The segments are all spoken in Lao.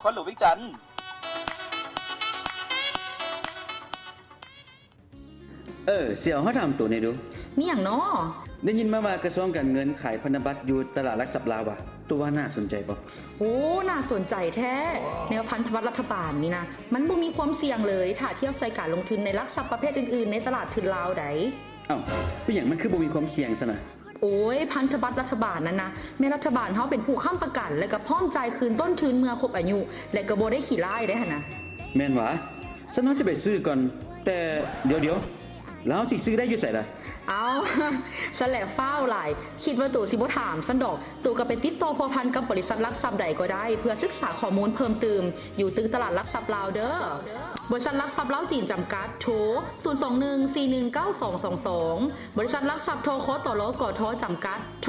ຄວນຫຼວງວຽງຈັນ. ເອີ ສຽວ ເຮົາຖາມໂຕແດ່ດູ. ມີຫຍັງນໍ? ໄດ້ຍິນມາວ່າກະຊວງການເງິນຂາຍພັນທະບັດຢູ່ຕະຫຼາດຫຼັກຊັບລາວຫວາ? ໂຕວ່າໜ້າສົນໃຈບໍ່? ໂອ້ ໜ້າສົນໃຈແທ້. ແນວພັນທະບັດລັດຖະບານນີ້ນະ ມັນບໍ່ມີຄວາມສ່ຽງເລີຍ ຖ້າທຽບໃສ່ການລົງທຶນໃນຫຼັກຊັບປະເພດອື່ນໆ ໃນຕະຫຼາດທຶນລາວໃດ໋. ເອົ້າ ເປັນຫຍັງມັນຄືບໍ່ມີຄວາມສ່ຽງຊັ້ນນະ? ໂອ້ຍ ພັນທະບັດລັດຖະບານນັ້ນນະ ແມ່ນລັດຖະບານເຮົາເປັນຜູ້ຄ້ຳປະກັນ ແລະກະພ້ອມຈ່າຍຄືນຕົ້ນທຶນເມື່ອຄົບອາຍຸ ແລະກະບໍ່ໄດ້ຂີ້ລ້າຍໄດ໋ຫັ້ນນະ. ແມ່ນຫວາ? ຊັ້ນເຮົາຊິໄປຊື້ກ່ອນ. ແຕ່ດຽວໆ ແລ້ວເຮົາຊິຊື້ໄດ້ຢູ່ໃສລະ? ເອົ້າ ຊັ້ນແຫຼະຟ້າວຫຼາຍ ຄິດວ່າໂຕຊິບໍ່ຖາມຊັ້ນດອກ. ໂຕກະໄປຕິດຕໍ່ພົວພັນກັບບໍລິສັດຫຼັກຊັບໃດກໍໄດ້ ເພື່ອສຶກສາຂໍ້ມູນເພີ່ມຕື່ມ ຢູ່ຕຶກຕະຫຼາດຫຼັກຊັບລາວເດີ. ບໍລິສັດຫຼັກຊັບລາວຈີນຈຳກັດ ໂທ ສູນສອງໜຶ່ງສີ່ໜຶ່ງເກົ້າສອງສອງສອງ, ບໍລິສັດຫຼັກຊັບ ທຄຕລ ກທ ຈຳກັດ ໂທ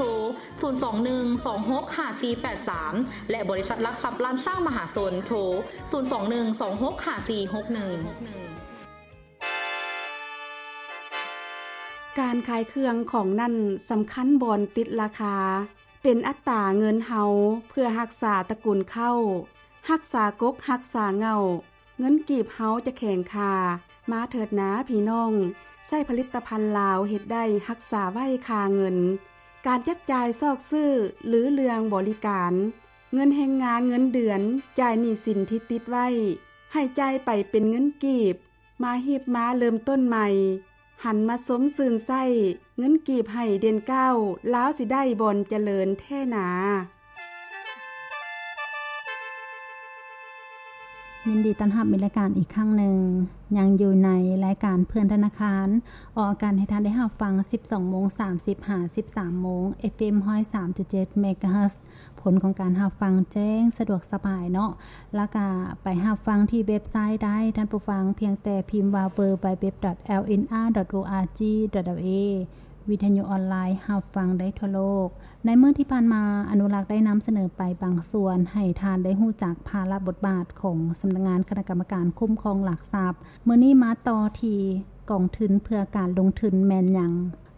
ສູນສອງໜຶ່ງສອງຫົກຫ້າສີ່ແປດສາມ ແລະ ບໍລິສັດຫຼັກຊັບລ້ານຊ້າງມະຫາຊົນ ໂທ ສູນສອງໜຶ່ງສອງຫົກຫ້າສີ່ຫົກໜຶ່ງ. ການຂາຍເຄື່ອງຂອງນັ້ນສຳຄັນບ່ອນຕິດລາຄາ ເປັນອັດຕາເງິນເຮົາ ເພື່ອຮັກສາຕະກຸນເຄົ້າ ຮັກສາກົກຮັກສາເຫງົ້າ ເງິນກີບເຮົາຈະແຂງຄ່າ. ມາເຖີດນາພີ່ນ້ອງ ໃຊ້ຜະລິດຕະພັນລາວເຮັດໄດ້ຮັກສາໄວ້ຄ່າເງິນ. ການຈັບຈ່າຍຊອກຊື້ ຫຼື ເລື່ອງບໍລິການ ເງິນແຮງງານເງິນເດືອນ ຈ່າຍໜີ້ສິນທີ່ຕິດໄວ້ ໃຫ້ຈ່າຍໄປເປັນເງິນກີບ ມາຮີບມາເລີ່ມຕົ້ນໃໝ່ ຫັນມາຊົມຊື່ນໃຊ້ເງິນກີບໃຫ້ເດັ່ນກ້າວ ລາວຊິໄດ້ບ່ອນຈະເລີນແທ້ໜາ. ຍິນດີຕ້ອນຮັບມີລາຍການອີກຄັ້ງໜຶ່ງ ຍັງຢູ່ໃນລາຍການເພື່ອນທະນາຄານ ອອກອາກາດໃຫ້ທ່ານໄດ້ຮັບຟັງ ສິບສອງໂມງສາມສິບ ຫາ ສິບສາມໂມງ ເອັຟເອັມ ຮ້ອຍສາມຈຸດເຈັດ ເມກາເຮີດ. ຜົນຂອງການຮັບຟັງແຈ້ງສະດວກສະບາຍເນາະ ແລ້ວກະໄປຮັບຟັງທີ່ເວັບໄຊໄດ້ ທ່ານຜູ້ຟັງ ພຽງແຕ່ພິມວ່າ www.lnr.org.la ວິທະຍຸອອນລາຍຮັບຟັງໄດ້ທົ່ວໂລກ. ໃນມື້ທີ່ຜ່ານມາ ອະນຸລັກໄດ້ນຳສະເໜີໄປບາງສ່ວນ ໃຫ້ທ່ານໄດ້ຮູ້ຈັກພາລະບົດບາດຂອງສຳນັກງານຄະນະກຳມະການຄຸ້ມຄອງຫຼັກຊັບ. ມື້ນີ້ມາຕໍ່ທີ່ກອງທຶນເພື່ອການລົງທຶນແມ່ນຫຍັງ?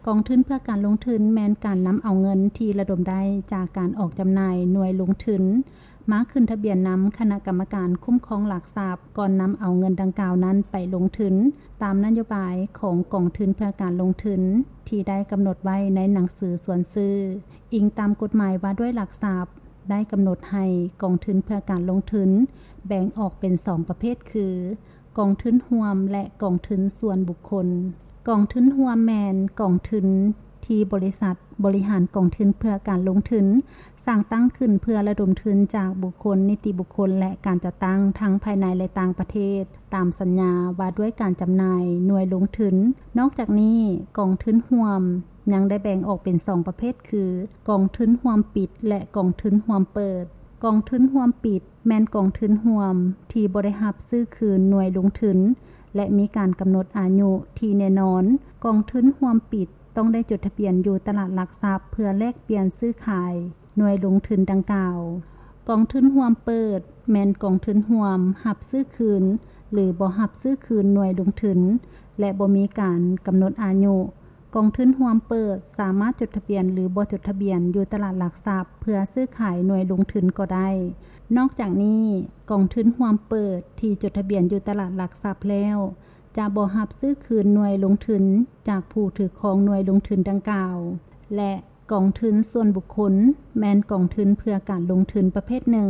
ກອງທຶນເພື່ອການລົງທຶນແມ່ນການນຳເອົາເງິນທີ່ລະດົມໄດ້ຈາກການອອກຈຳໜ່າຍໜ່ວຍລົງທຶນ ມາຂຶ້ນທະບຽນນຳຄະນະກຳມະການຄຸ້ມຄອງຫຼັກຊັບ ກ່ອນນຳເອົາເງິນດັ່ງກ່າວນັ້ນໄປລົງທຶນ ຕາມນະໂຍບາຍຂອງກອງທຶນເພື່ອການລົງທຶນ ທີ່ໄດ້ກຳນົດໄວ້ໃນໜັງສືຊວນຊື້. ອີງຕາມກົດໝາຍວ່າດ້ວຍຫຼັກຊັບ ໄດ້ກຳນົດໃຫ້ກອງທຶນເພື່ອການລົງທຶນ ແບ່ງອອກເປັນສອງປະເພດຄື ກອງທຶນຮ່ວມ ແລະ ກອງທຶນສ່ວນບຸກຄົນ. ກອງທຶນຮ່ວມແມ່ນກອງທຶນທີ່ບໍລິສັດບໍລິຫານກອງທຶນເພື່ອການລົງທຶນ ສ້າງຕັ້ງຂຶ້ນເພື່ອລະດົມທຶນຈາກບຸກຄົນ, ນິຕິບຸກຄົນ ແລະ ການຈັດຕັ້ງທັງພາຍໃນ ແລະ ຕ່າງປະເທດ ຕາມສັນຍາວ່າດ້ວຍການຈຳໜ່າຍໜ່ວຍລົງທຶນ. ນອກຈາກນີ້, ກອງທຶນຮ່ວມຍັງໄດ້ແບ່ງອອກເປັນສອງປະເພດຄື ກອງທຶນຮ່ວມປິດ ແລະ ກອງທຶນຮ່ວມເປີດ. ກອງທຶນຮ່ວມປິດ ແມ່ນກອງທຶນຮ່ວມທີ່ບໍ່ໄດ້ຮັບຊື້ຄືນໜ່ວຍລົງທຶນ ແລະ ມີການກຳນົດອາຍຸທີ່ແນ່ນອນ. ກອງທຶນຮ່ວມປິດຕ້ອງໄດ້ຈົດທະບຽນຢູ່ຕະຫຼາດຫຼັກຊັບເພື່ອແລກປ່ຽນຊື້ຂາຍໜ່ວຍລົງທຶນດັ່ງກ່າວ. ກອງທຶນຮ່ວມເປີດ ແມ່ນກອງທຶນຮ່ວມຮັບຊື້ຄືນ ຫຼື ບໍ່ຮັບຊື້ຄືນໜ່ວຍລົງທຶນ ແລະ ບໍ່ມີການກຳນົດອາຍຸ. ກອງທຶນຮ່ວມເປີດສາມາດຈົດທະບຽນ ຫຼື ບໍ່ຈົດທະບຽນຢູ່ຕະຫຼາດຫຼັກຊັບເພື່ອຊື້ຂາຍໜ່ວຍລົງທຶນກໍໄດ້. ນອກຈາກນີ້, ກອງທຶນຮ່ວມເປີດທີ່ຈົດທະບຽນຢູ່ຕະຫຼາດຫຼັກຊັບແລ້ວ ຈະບໍ່ຮັບຊື້ຄືນໜ່ວຍລົງທຶນຈາກຜູ້ຖືຄອງໜ່ວຍລົງທຶນດັ່ງກ່າວ ແລະ ກອງທຶນສ່ວນບຸກຄົນ ແມ່ນກອງທຶນເພື່ອການລົງທຶນປະເພດໜຶ່ງ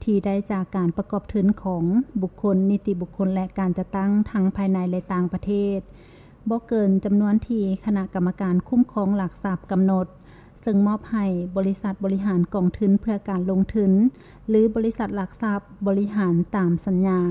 ທີ່ໄດ້ຈາກການປະກອບທຶນຂອງບຸກຄົນ, ນິຕິບຸກຄົນ ແລະ ການຈັດຕັ້ງທັງພາຍໃນ ແລະ ຕ່າງປະເທດ. ບໍ່ເກີນຈຳນວນທີ່ຄະນະກຳມະການຄຸ້ມຄອງຫຼັກຊັບກຳນົດ, ເຊິ່ງມອບໃຫ້ບໍລິສັດບໍລິຫານກອງທຶນເພື່ອການລົງທຶນ ຫຼື ບໍລິສັດຫຼັກຊັບບໍລິຫານຕາມສັນຍາ.